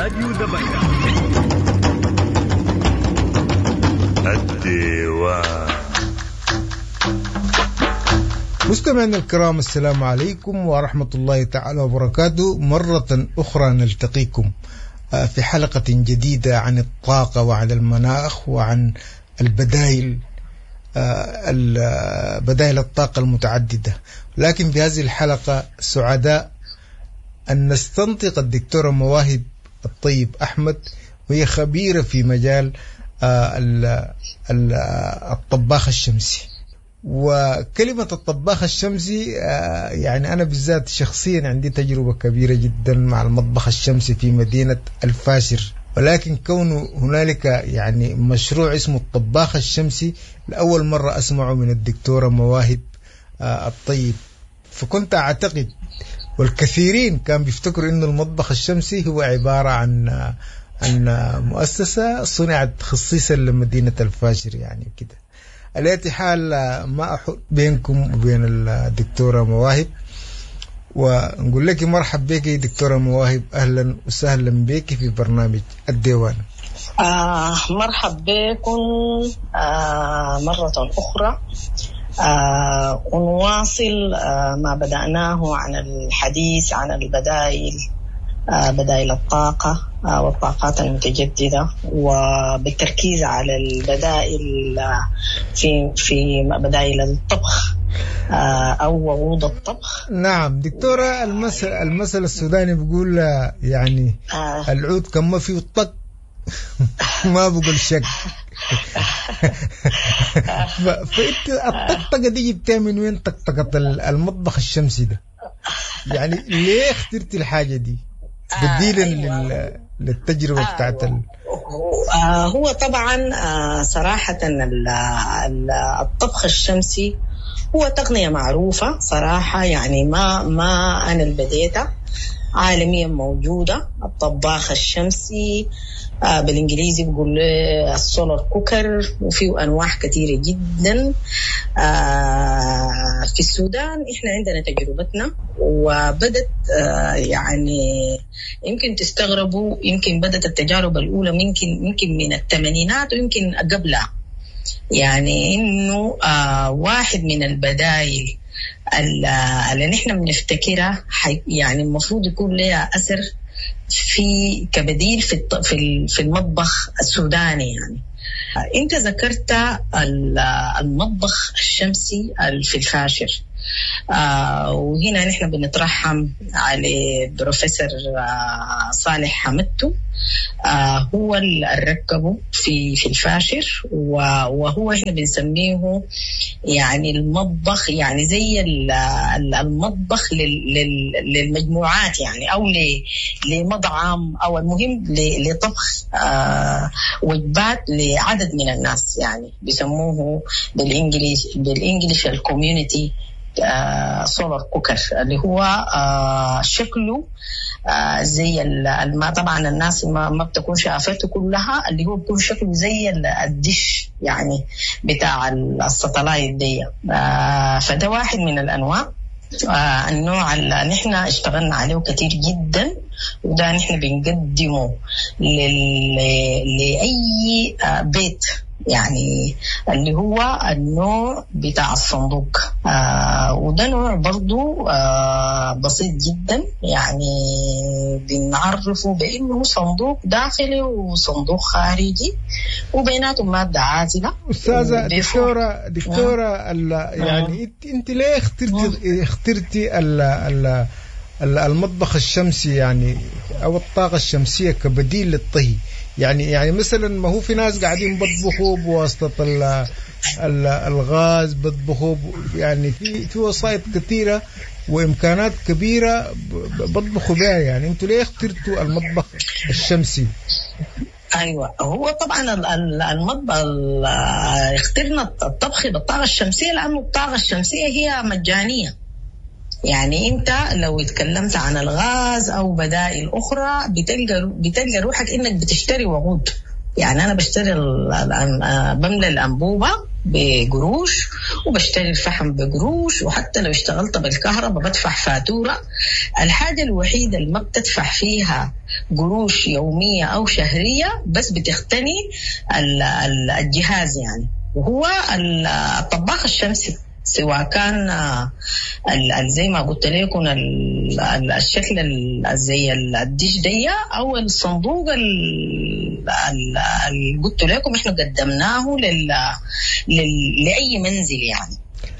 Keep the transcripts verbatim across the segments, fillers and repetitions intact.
راديو دبي. الديوان. مستمعينا الكرام، السلام عليكم ورحمة الله تعالى وبركاته. مرة أخرى نلتقيكم في حلقة جديدة عن الطاقة وعن المناخ وعن البدائل، بدائل الطاقة المتعددة. لكن في هذه الحلقة سعداء أن نستنطق الدكتورة مواهب الطيب أحمد، وهي خبيرة في مجال الطباخ الشمسي. وكلمة الطباخ الشمسي يعني أنا بالذات شخصيا عندي تجربة كبيرة جدا مع المطبخ الشمسي في مدينة الفاشر، ولكن كونه هنالك يعني مشروع اسمه الطباخ الشمسي لأول مرة أسمعه من الدكتورة مواهب الطيب. فكنت أعتقد والكثيرين كان بيفتكروا إنه المطبخ الشمسي هو عبارة عن عن مؤسسة صنعت خصيصا لمدينة الفاشر يعني كده. على أي حال ما أحط بينكم وبين الدكتورة مواهب، ونقول لك مرحب بك دكتورة مواهب، أهلا وسهلا بك في برنامج الديوان. آه مرحب بكم آه مرة أخرى. آه ونواصل آه ما بدأناه عن الحديث عن البدائل، آه بدائل الطاقة آه والطاقات المتجددة، وبالتركيز على البدائل آه في في بدائل الطبخ آه أو وقود الطبخ. نعم دكتورة، المثل المثل السوداني بيقول يعني آه العود كم ما فيه طق ما بقول شك. فانت الطقطقه دي جبتها من وين؟ طقطقه المطبخ الشمسي ده يعني ليه اخترتي الحاجة دي بديلا آه أيوة. للتجربه آه بتاعت ال... آه هو طبعا آه صراحة الطبخ الشمسي هو تقنية معروفة صراحة، يعني ما ما انا اللي بديتها، عالميا موجودة. الطباخ الشمسي آه بالإنجليزي بيقول له ال solar cooker، وفيه أنواع كثيرة جدا. آه في السودان إحنا عندنا تجربتنا، وبدت آه يعني يمكن تستغربوا، يمكن بدت التجارب الأولى يمكن يمكن من الثمانينات ويمكن قبلها، يعني إنه آه واحد من البدائل اللي نحن بنفتكرها يعني المفروض يكون لها أثر في كبديل في في المطبخ السوداني. يعني أنت ذكرت المطبخ الشمسي في الفاشر، آه وهنا نحن بنترحم على بروفيسور آه صالح حمدتو، آه هو اللي ركبه في في الفاشر، وهو احنا بنسميه يعني المطبخ، يعني زي المطبخ للمجموعات يعني، او لمطعم، او المهم لطبخ آه وجبات لعدد من الناس، يعني بيسموه بال English بال English ال community solar cooker، اللي هو آه شكله آه زي ما طبعا الناس ما, ما بتكون شافته كلها، اللي هو بيكون شكله زي الدش يعني بتاع ال satellite دي. آه فده واحد من الانواع. آه النوع اللي نحن اشتغلنا عليه كتير جدا، وده نحن بنقدمه لل... لأي آه بيت، يعني اللي هو النوع بتاع الصندوق. آه وده نوع برضو آه بسيط جدا، يعني بنعرفه بأنه صندوق داخلي وصندوق خارجي وبيناتهم مادة عازلة. أستاذة دكتورة دكتورة آه. يعني أنت ليه اخترتي اخترتي ال ال المطبخ الشمسي يعني أو الطاقة الشمسية كبديل للطهي؟ يعني يعني مثلا ما هو في ناس قاعدين بطبخوا بواسطة ال ال الغاز، بطبخوا يعني في في وسائط كثيرة وإمكانات كبيرة بطبخوا بها، يعني أنتوا ليه اخترتوا المطبخ الشمسي؟ أيوة، هو طبعا المطبخ اخترنا الطبخ بالطاقة الشمسية لأنه الطاقة الشمسية هي مجانية. يعني انت لو اتكلمت عن الغاز او بدائل اخرى بتلقى بتلقى روحك انك بتشتري وقود. يعني انا بشتري بملى الانبوبة بقروش، وبشتري الفحم بقروش، وحتى لو اشتغلت بالكهرباء بدفع فاتورة. الحاجة الوحيدة اللي ما بتدفع فيها قروش يومية أو شهرية بس بتختني الجهاز يعني، وهو الطباخ الشمسي، سواء كان زي ما قلت لكم الشكل زي الدش دي او الصندوق اللي قلت لكم احنا قدمناه لل... لل... لاي منزل يعني.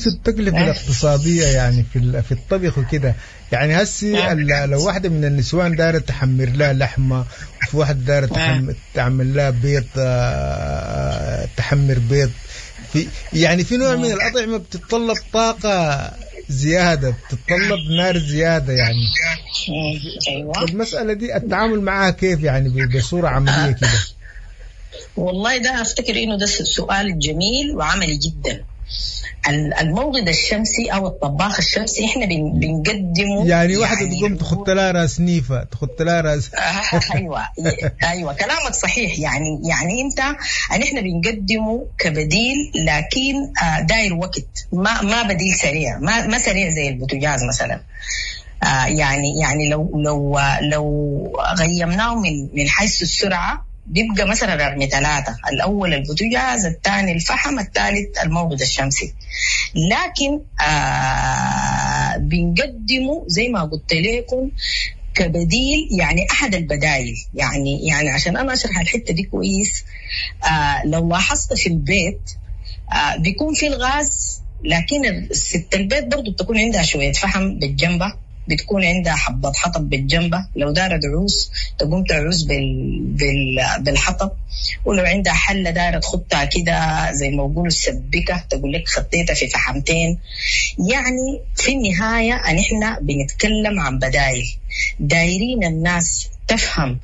التكلفة الاقتصادية يعني في في الطبخ وكده يعني، هسي لو واحدة من النسوان دايرة تحمر لها لحمة، وفي واحدة دايرة تحمر تعمل لها بيض، تحمر بيض، في يعني في نوع من الأطعمة بتتطلب طاقة زيادة، بتتطلب نار زيادة يعني. أيوة. المسألة دي التعامل معها كيف يعني بصورة عملية كده؟ والله ده أفتكر إنه ده سؤال جميل وعملي جدا. الموقد الشمسي او الطباخ الشمسي احنا بنقدمه يعني واحدة يعني تقوم تخط لها راس نيفه، تخط لها راس. ايوه ايوه كلامك صحيح. يعني يعني انت احنا بنقدمه كبديل، لكن داير وقت، ما ما بديل سريع، ما ما سريع زي البوتاجاز مثلا. يعني يعني لو لو لو غيمناه من من حيث السرعة بيبقى مثلا رقم ثلاثة، الأول البوتاجاز، الثاني الفحم، الثالث الموقد الشمسي. لكن آه بنقدمه زي ما قلت لكم كبديل، يعني أحد البدائل. يعني يعني عشان أنا أشرح الحتة دي كويس، آه لو لاحظت في البيت آه بيكون في الغاز، لكن ست البيت برضو بتكون عندها شوية فحم بالجنبة، بتكون عندها حبة حطب بالجنبة، لو دارة دعوس تقوم تعوس بال... بال... بالحطب، ولو عندها حلة دارة تخطها كده زي ما بيقولوا السبكة، تقول لك خطيتها في فحمتين. يعني في النهاية أن إحنا بنتكلم عن بدائل، دايرين الناس تفهم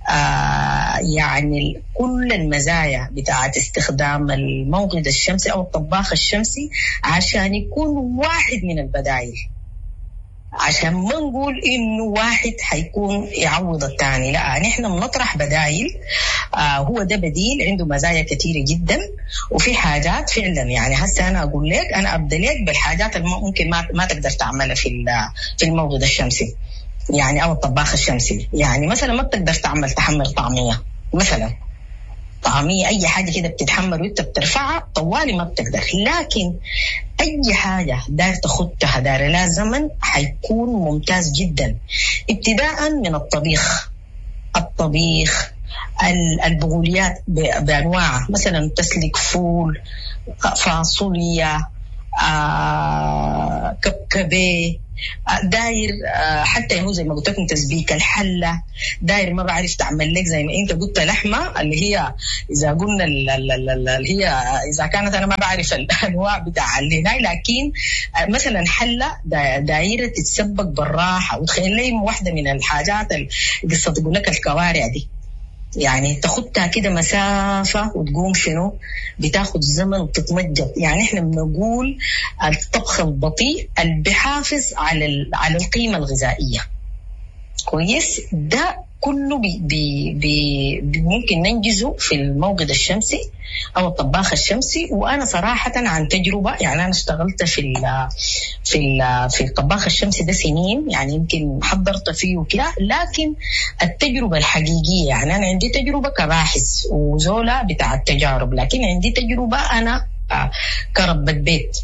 آه يعني كل المزايا بتاعت استخدام الموقد الشمسي أو الطباخ الشمسي عشان يكون واحد من البدائل، عشان ما نقول إنه واحد حيكون يعوض الثاني، لا نحن بنطرح بدائل. آه هو ده بديل عنده مزايا كثيرة جدا، وفي حاجات فعلا يعني هسه أنا أقول لك، أنا أبدأ لك بالحاجات اللي ممكن ما, ما تقدر تعملها في في الموقد الشمسي يعني أو الطباخ الشمسي. يعني مثلا ما بتقدر تعمل تحمر طعمية مثلا، طعمية أي حاجة كده بتتحمر وأنت بترفعها طوالي ما بتقدر، لكن أي حاجة دار تخطها دار لا زمن حيكون ممتاز جدا، ابتداء من الطبيخ، الطبيخ البقوليات بأنواعها، مثلا تسلك فول، فاصوليا، آه، كبكبه، داير حتى هو زي ما قلت لكم تسبيك الحلة، داير ما بعرف تعمل لك زي ما انت قلت لحمه اللي هي اذا قلنا اللي هي اذا كانت انا ما بعرف الانواع بتاع اللي هناك، لكن مثلا حله دايرة تتسبك بالراحة. وتخيل لي واحدة من الحاجات القصة تقول لك الكوارع دي، يعني تاخدها كده مسافة وتقوم شنو بتاخد زمن وتتمجد. يعني احنا بنقول الطبخ البطيء اللي بيحافظ على على القيمة الغذائية كويس، ده كله بي بي بي ممكن ننجزه في الموقد الشمسي او الطباخ الشمسي. وانا صراحة عن تجربه، يعني انا اشتغلت في ال في ال في الطباخ الشمسي ده سنين، يعني يمكن حضرت فيه وكده، لكن التجربة الحقيقية يعني انا عندي تجربه كباحث وزوله بتاع التجارب، لكن عندي تجربه انا كربة بيت.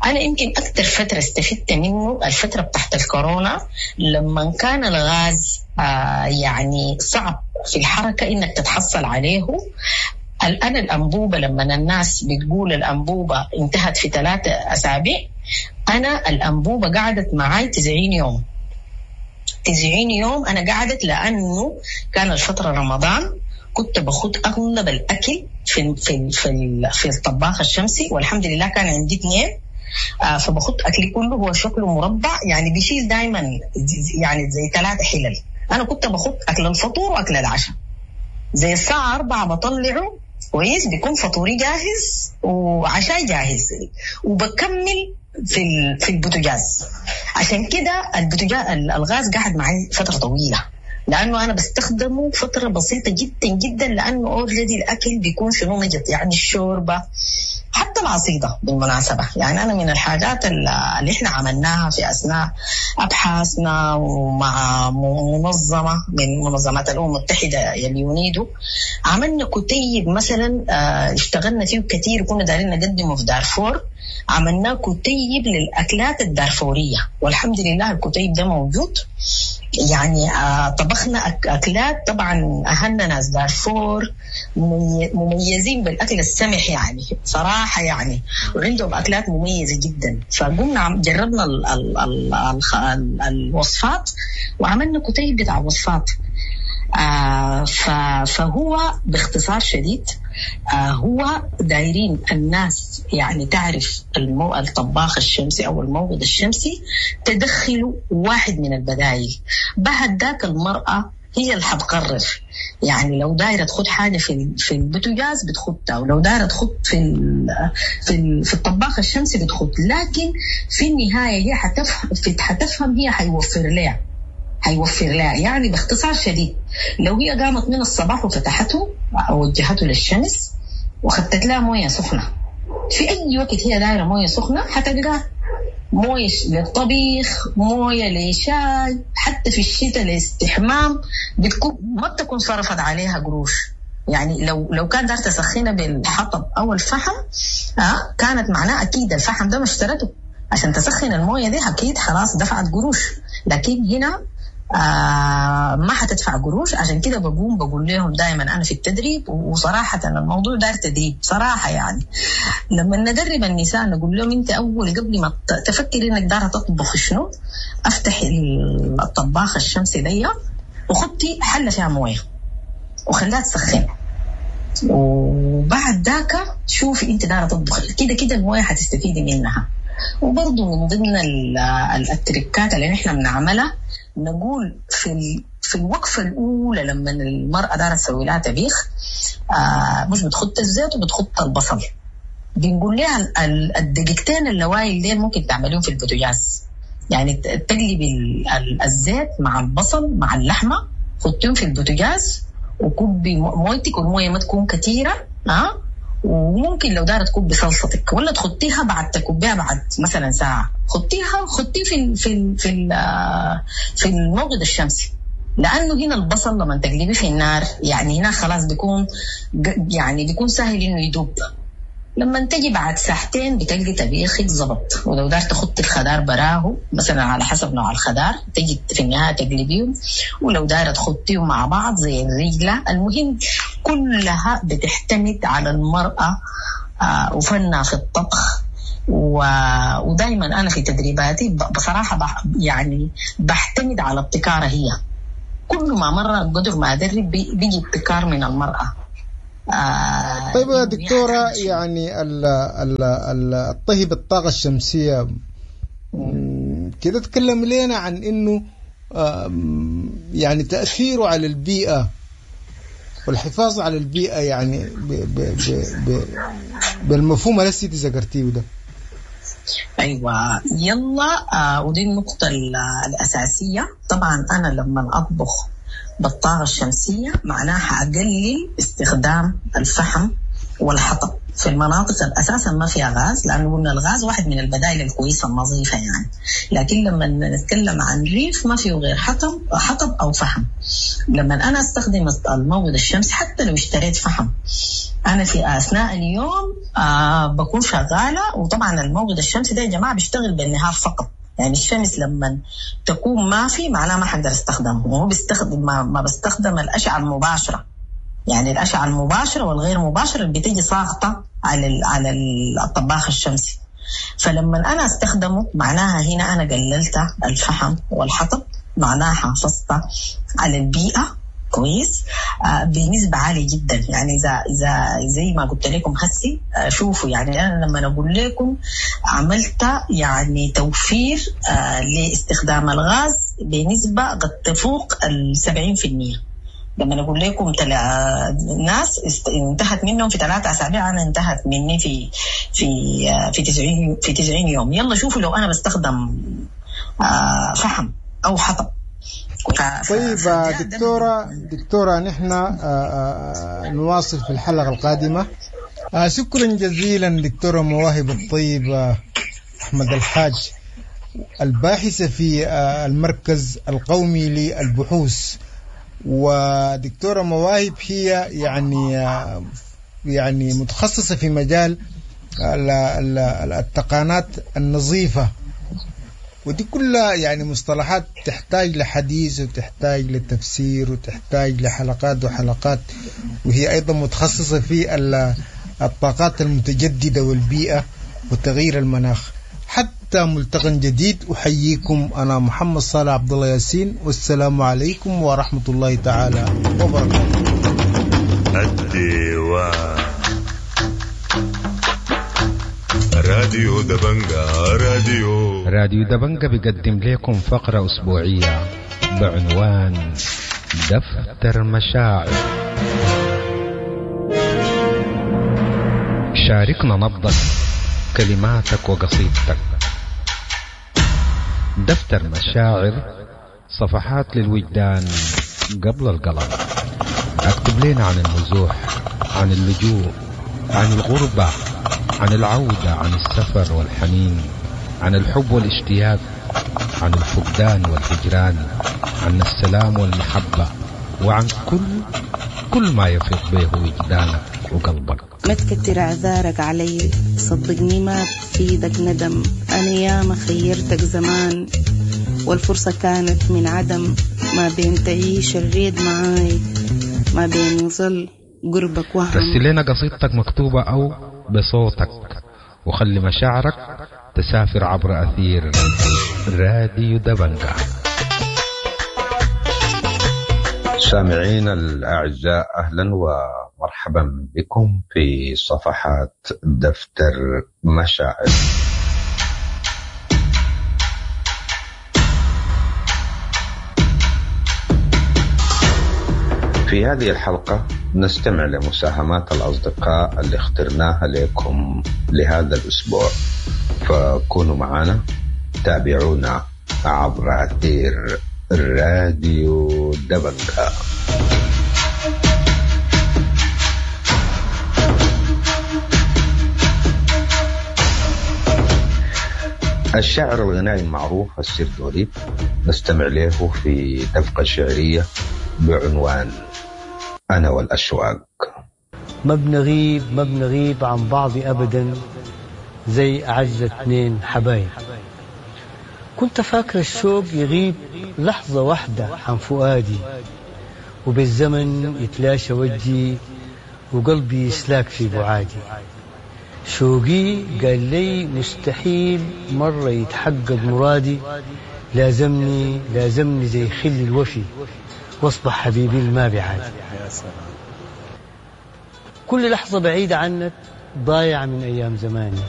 أنا يمكن أكثر فترة استفدت منه الفترة بتاعت الكورونا، لما كان الغاز آه يعني صعب في الحركة إنك تتحصل عليه. الآن الأنبوبة لما الناس بتقول الأنبوبة انتهت في ثلاثة أسابيع، أنا الأنبوبة قعدت معاي تسعين يوم. تسعين يوم أنا قعدت، لأنه كان الفترة رمضان، كنت باخد أغلب الأكل في في في, في الطباخ الشمسي، والحمد لله كان عندي اثنين، آه فباخد أكلي كله. هو شكله مربع يعني بيشيل دايما يعني زي ثلاثة حلل. أنا كنت باخد أكل الفطور وأكل العشاء، زي الساعة أربعة بطلعه كويس، بيكون فطوري جاهز وعشاي جاهز، وبكمل في في البوتاجاز. عشان كده البوتاجاز الغاز قاعد معي فترة طويلة، لأنه أنا بستخدمه فترة بسيطة جدا جدا، لأنه already الأكل بيكون شنو نجط، يعني الشوربة حتى حتى العصيدة بالمناسبة، يعني أنا من الحاجات اللي إحنا عملناها في أثناء أبحاثنا ومع منظمة من منظمات الأمم المتحدة اليونيدو، عملنا كتيب مثلا اشتغلنا فيه كتير وكنا دارين نقدمه في دارفور. عملنا كتيب للأكلات الدارفورية، والحمد لله الكتيب ده موجود. يعني طبخنا أكلات، طبعا أهلنا ناس دارفور مميزين بالأكل السمح يعني صراحة يعني، وعندهم أكلات مميزة جدا. فقمنا جربنا ال ال ال ال الوصفات وعملنا كتيب بتاع وصفات. آه فهو باختصار شديد آه هو دايرين الناس يعني تعرف المو... الطباخ الشمسي أو الموقد الشمسي، تدخلوا واحد من البدائل. بعد ذاك المرأة هي اللي حتقرر، يعني لو دايرة تخد حاجة في في البوتاجاز بتخدها، ولو دايرة تخد في ال في ال في الطباخ الشمسي بتخد، لكن في النهاية هي حتفهم حتفهم هي حيوفر لها حيوفر لها. يعني باختصار شديد لو هي قامت من الصباح وفتحته أو وجهته للشمس وخدت لها مويه سخنة، في أي وقت هي دايرة مويه سخنة حتلقاها، مويه للطبيخ، مويه لشاي، حتى في الشتاء لاستحمام، بتكون ما بتكون صرفت عليها قروش. يعني لو لو كان دار تسخينها بالحطب أو الفحم آه كانت معناه أكيد الفحم ده ما اشترته عشان تسخن المويه دي، أكيد خلاص دفعت قروش. لكن هنا آه ما حتدفع قروش. عشان كده بقوم بقول لهم دائما أنا في التدريب، وصراحة الموضوع دار تدريب صراحة، يعني لما ندرب النساء نقول لهم أنت أول قبل ما تفكر إنك دارة تطبخ شنو، أفتح الطباخ الشمسي دي وخطي حلة فيها موية وخليها تسخن، وبعد ذاك شوفي أنت دارة تطبخ كده كده الموية حتستفيدي منها. وبرضه من ضمن التركات اللي نحن بنعملها نقول في في الوقفة الأولى لما المرأة دارت تسوي لها طبيخ آه مش بتخط الزيت وبتخط البصل، بنقول لها الدقيقتين اللوايل ديل ممكن تعمليهم في البوتاجاز، يعني تقلبي الزيت مع البصل مع اللحمة، خطيهم في البوتاجاز وكبي مويتك، والموية ما تكون كثيرة آه وممكن لو دارت تكبي صلصتك ولا تخطيها بعد تكبيها بعد مثلا ساعة، خطيها خطيه في في في في الموقد الشمسي، لأنه هنا البصل لما تقلبيه في النار يعني هنا خلاص بيكون يعني بيكون سهل إنه يدوب. لما تجي بعد ساعتين بتلقي طبيخك زبط. ولو دار تخطي الخضار براه مثلا على حسب نوع الخضار تجي في النهاية تقلبيهم، ولو دار تخطيهم مع بعض زي الرجلة. المهم كلها بتعتمد على المرأة آه وفنها في الطبخ. ودايما أنا في تدريباتي بصراحة بح يعني بحتمد على ابتكارها هي. كل ما مرة قدر ما أدرب بيجي ابتكار من المرأة. آه طيب يا دكتورة، يعني ال ال ال الطهي بالطاقة الشمسية كده تكلم لنا عن إنه يعني تأثيره على البيئة والحفاظ على البيئة، يعني ب ب ب ب بالمفهوم اللي ذكرتيه ده. أيوة يلا آه ودي النقطة الأساسية. طبعا أنا لما أطبخ بالطاقة الشمسية معناها أقلل استخدام الفحم والحطب في المناطق الأساسا ما فيها غاز، لأنه قلنا الغاز واحد من البدائل الكويسة النظيفة يعني. لكن لما نتكلم عن ريف ما فيه غير حطب حطب أو فحم. لما أنا أستخدم الموقد الشمسي حتى لو اشتريت فحم، أنا في أثناء اليوم آه بكون شغالة. وطبعا الموقد الشمسي ده يا جماعة بيشتغل بالنهار فقط، يعني الشمس لما تكون ما في معناه ما حقدر استخدمه، وهو بيستخدم ما, ما بستخدم الأشعة المباشرة، يعني الأشعة المباشرة والغير مباشرة اللي بتيجي ساقطة على على الطباخ الشمسي. فلما أنا استخدمه معناها هنا أنا قللت الفحم والحطب، معناها حافظت على البيئة كويس آه بنسبة عالية جدا. يعني إذا إذا زي ما قلت لكم هسي آه شوفوا، يعني أنا لما أقول لكم عملت يعني توفير آه لاستخدام الغاز بنسبة قد تفوق السبعين في المية. لما أقول لكم تلا ناس انتهت منهم في ثلاثة أسابيع، أنا انتهت مني في في في تسعين في تسعين يوم. يلا شوفوا لو أنا بستخدم آه فحم أو حطب. طيب دكتورة دكتورة نحن نواصل في الحلقة القادمة. آه شكرا جزيلا دكتورة مواهب الطيب أحمد الحاج، الباحثة في المركز القومي للبحوث. ودكتورة مواهب هي يعني يعني متخصصة في مجال التقانات النظيفة، ودي كلها يعني مصطلحات تحتاج لحديث وتحتاج لتفسير وتحتاج لحلقات وحلقات. وهي أيضا متخصصة في الطاقات المتجددة والبيئة وتغيير المناخ. حتى ملتقى جديد، أحييكم أنا محمد صالح عبد الله ياسين، والسلام عليكم ورحمة الله تعالى وبركاته. الديوان راديو دبنجا، راديو راديو دبنجا بيقدم لكم فقرة أسبوعية بعنوان دفتر مشاعر. شاركنا نبضك، كلماتك وقصيدتك. دفتر مشاعر، صفحات للوجدان قبل القلم. اكتب لنا عن النزوح، عن اللجوء، عن الغربة، عن العودة، عن السفر والحنين، عن الحب والاشتياق، عن الفقدان والهجران، عن السلام والمحبة، وعن كل كل ما يفيض به وجدانك وقلبك. ما تكتر اعذارك علي، صدقني ما بفيدك ندم. انا ياما خيرتك زمان والفرصة كانت من عدم. ما بين تعيش الريد معاي، ما بين يظل قربك وهم. رسل لنا قصيدتك مكتوبة أو بصوتك، وخلي مشاعرك تسافر عبر أثير راديو دبنجا. سامعين الأعزاء، أهلا ومرحبا بكم في صفحات دفتر مشاعر. في هذه الحلقة نستمع لمساهمات الأصدقاء اللي اخترناها لكم لهذا الأسبوع، فكونوا معنا، تابعونا عبر أثير راديو دبنجا. الشاعر الغنائي المعروف السير دوليب نستمع له في دفقة شعرية بعنوان أنا والأشواق. ما بنغيب ما بنغيب عن بعض أبدا زي أعز اثنين حبايب. كنت فاكر الشوق يغيب لحظة واحدة عن فؤادي، وبالزمن يتلاشى وجهي وقلبي يسلاك في بعادي. شوقي قال لي مستحيل مرة يتحقق مرادي، لازمني لازمني زي خل الوفي واصبح حبيبي الما بعادي. كل لحظة بعيدة عنك ضايعة من أيام زماني،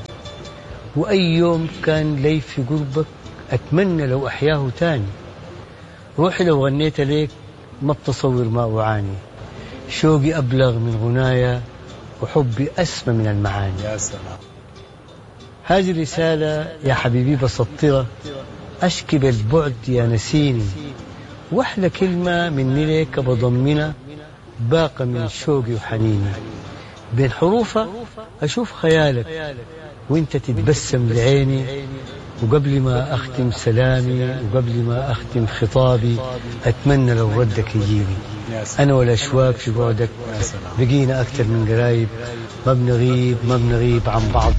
وأي يوم كان لي في قربك أتمنى لو أحياه تاني. روحي لو غنيت ليك ما بتصور ما أعاني، شوقي أبلغ من غنايا وحبي أسمى من المعاني. يا سلام. هذه الرسالة يا حبيبي بسطرة، أشكي بالبعد يا نسيني، وأحلى كلمة مني لك بضمنها باقة من شوقي وحنيني. بين حروفها أشوف خيالك وانت تتبسم لعيني، وقبل ما أختم سلامي وقبل ما أختم خطابي أتمنى لو ردك يجيني. أنا والأشواق في بعدك بقينا أكثر من قرايب، ما بنغيب ما بنغيب عن بعض.